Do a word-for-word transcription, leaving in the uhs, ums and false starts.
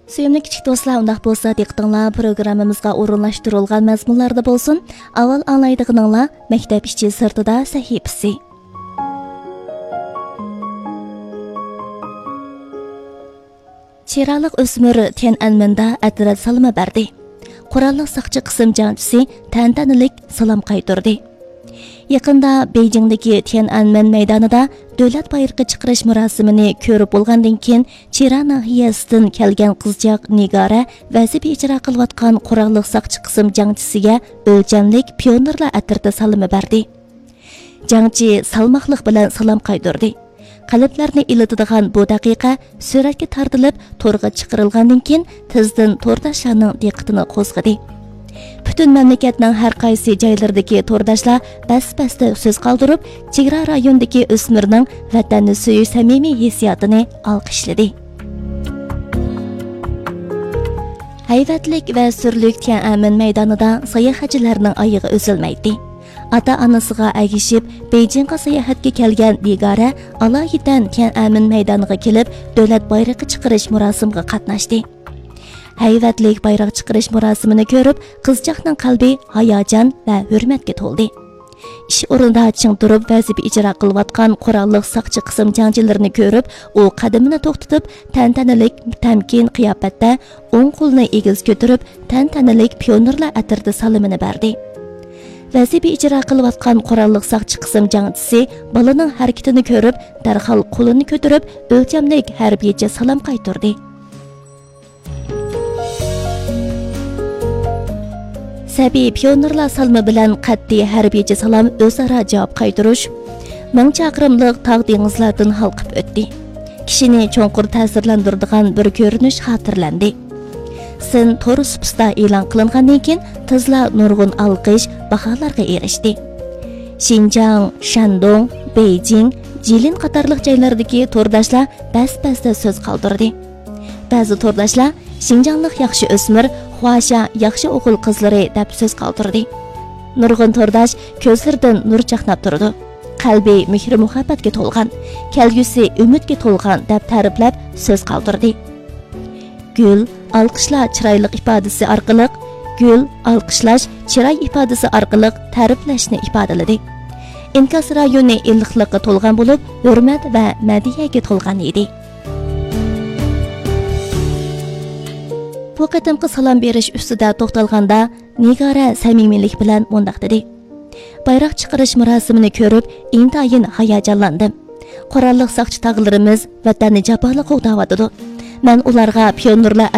سۆيۈملۈك كىچىك دوستلار، ئۇنداق بولسا دىققىتىڭلار پروگراممىمىزغا ئورۇنلاشتۇرۇلغان مەزمۇنلاردا بولسۇن. ئاۋۋال ئاڭلايدىغىنىڭلار مەكتەپ ئىچى سىرتىدا سەھىپىسى. چىرايلىق ئۆسمۈر تيەنئەنمېندا ئەترەت سالىمى بەردى. قوراللىق ساقچى قىسىم جەڭچىسى تەنتەنىلىك سالام قايتۇردى. يېقىندا بېيجىڭدىكى تيەنئەنمېن مەيدانىدا دۆلەت بايرىقى چىقىرىش مۇراسىمىنى كۆرۈپ بولغاندىن كېيىن، چىرا ناھىيەسىدىن كەلگەن قىزچاق نىگارە ۋەزىپە ئىجرا قىلىۋاتقان قوراللىق ساقچى قىسىم جەڭچىسىگە ئۆلچەملىك پىيونېرلار ئەترىتى سالىمى بەردى. جەڭچى سالماقلىق بىلەن سالام قايتۇردى. قەلبلەرنى ئىللىتىدىغان بۇ دەقىقە سۈرەتكە تارتىلىپ، تورغا چىقىرىلغاندىن كېيىن، تېزدىن تورداشلارنىڭ دىققىتىنى قوزغىدى. پۈتۈن مەملىكەتنىڭ ھەر قايسى جايلىرىدىكى تورداشلار بەس-بەستە سۆز قالدۇرۇپ، چېگرا رايونىدىكى ئۆسمۈرنىڭ ۋەتەننى سۆيۈش سەمىمىي ھېسسىياتىنى ئالقىشلىدى. ھەيۋەتلىك ۋە سۈرلۈك تيەنئەنمېن مەيدانىدا ساياھەتچىلەرنىڭ ئايىغى ئۈزۈلمەيتتى. ئاتا-ئانىسىغا ئەگىشىپ، بېيجىڭغا ساياھەتكە كەلگەن نىگارە ئالايىتەن تيەنئەنمېن مەيدانىغا كېلىپ، دۆلەت بايرىقى چىقىرىش مۇراسىمىغا قاتناشتى. ھەيۋەتلىك بايراق چىقىرىش مۇراسىمىنى كۆرۈپ، قىزچاقنىڭ قەلبى ھاياجان ۋە ھۆرمەتكە تولدى. ئىش ئورنىدا چىڭ تۇرۇپ ۋەزىپە ئىجرا قىلىۋاتقان قوراللىق ساقچى قىسىم جەڭچىلىرىنى كۆرۈپ، ئۇ قەدىمىنى توختىتىپ، تەنتەنىلىك، تەمكىن قىياپەتتە ئوڭ قولىنى ئېگىز كۆتۈرۈپ، تەنتەنىلىك پىيونېرلار ئەترىتى سالىمىنى بەردى. ۋەزىپە ئىجرا قىلىۋاتقان قوراللىق ساقچى قىسىم جەڭچىسى بالىنىڭ ھەرىكىتىنى كۆرۈپ، دەرھال قولىنى كۆتۈرۈپ، ئۆلچەملىك ھەربىيچە سالام قايتۇردى. سەبىي پىيونېرلار سالىمى بىلەن قەتئىي ھەربىيچە سالام ئۆزئارا جاۋاب قايتۇرۇش مىڭ چاقىرىملىق تاغ دېڭىزلاردىن ھالقىپ ئۆتتى. كىشىنى چوڭقۇر تەسىرلەندۈرىدىغان بىر كۆرۈنۈش خاتىرىلەندى. سىن تور سۇپىسىدا ئېلان قىلىنغاندىن كېيىن، تېزلا نۇرغۇن ئالقىش، باھالارغا ئېرىشتى. شىنجاڭ، شەندۇڭ، بېيجىڭ، جىلىن قاتارلىق جايلاردىكى تورداشلار بەس-بەستە سۆز قالدۇردى. بەزى تورداشلار «شىنجاڭلىق ياخشى ئۆسمۈر، خۇاشيا ياخشى ئوغۇل قىزلىرى» دەپ سۆز قالدۇردى. نۇرغۇن تورداش كۆزلىرىدىن نۇر چاقناپ تۇرىدۇ. «قەلبى مېھرى-مۇھەببەتكە تولغان، كەلگۈسى ئۈمىدكە تولغان» دەپ تەرىپلەپ سۆز قالدۇردى. گۈل، ئالقىشلار چىرايلىق ئىپادىسى ئارقىلىق، گۈل، ئالقىشلاش چىراي ئىپادىسى ئارقىلىق تەرىپلەشنى ئىپادىلىدى. ئىنكاس رايونى ئىللىقلىققا تولغان بولۇپ، ھۆرمەت ۋە مەدھىيەگە تولغان ئىدى. بۇ قېتىمقى سالام بېرىش ئۈستىدە توختالغاندا، نىگارە سەمىمىيلىك بىلەن مۇنداق دېدى: «بايراق چىقىرىش مۇراسىمىنى كۆرۈپ، ئىنتايىن ھاياجانلاندىم. قوراللىق ساقچى تاغىلىرىمىز ۋەتەننى جاپالىق قوغداۋاتىدۇ. مەن ئۇلارغا پىيونېرلار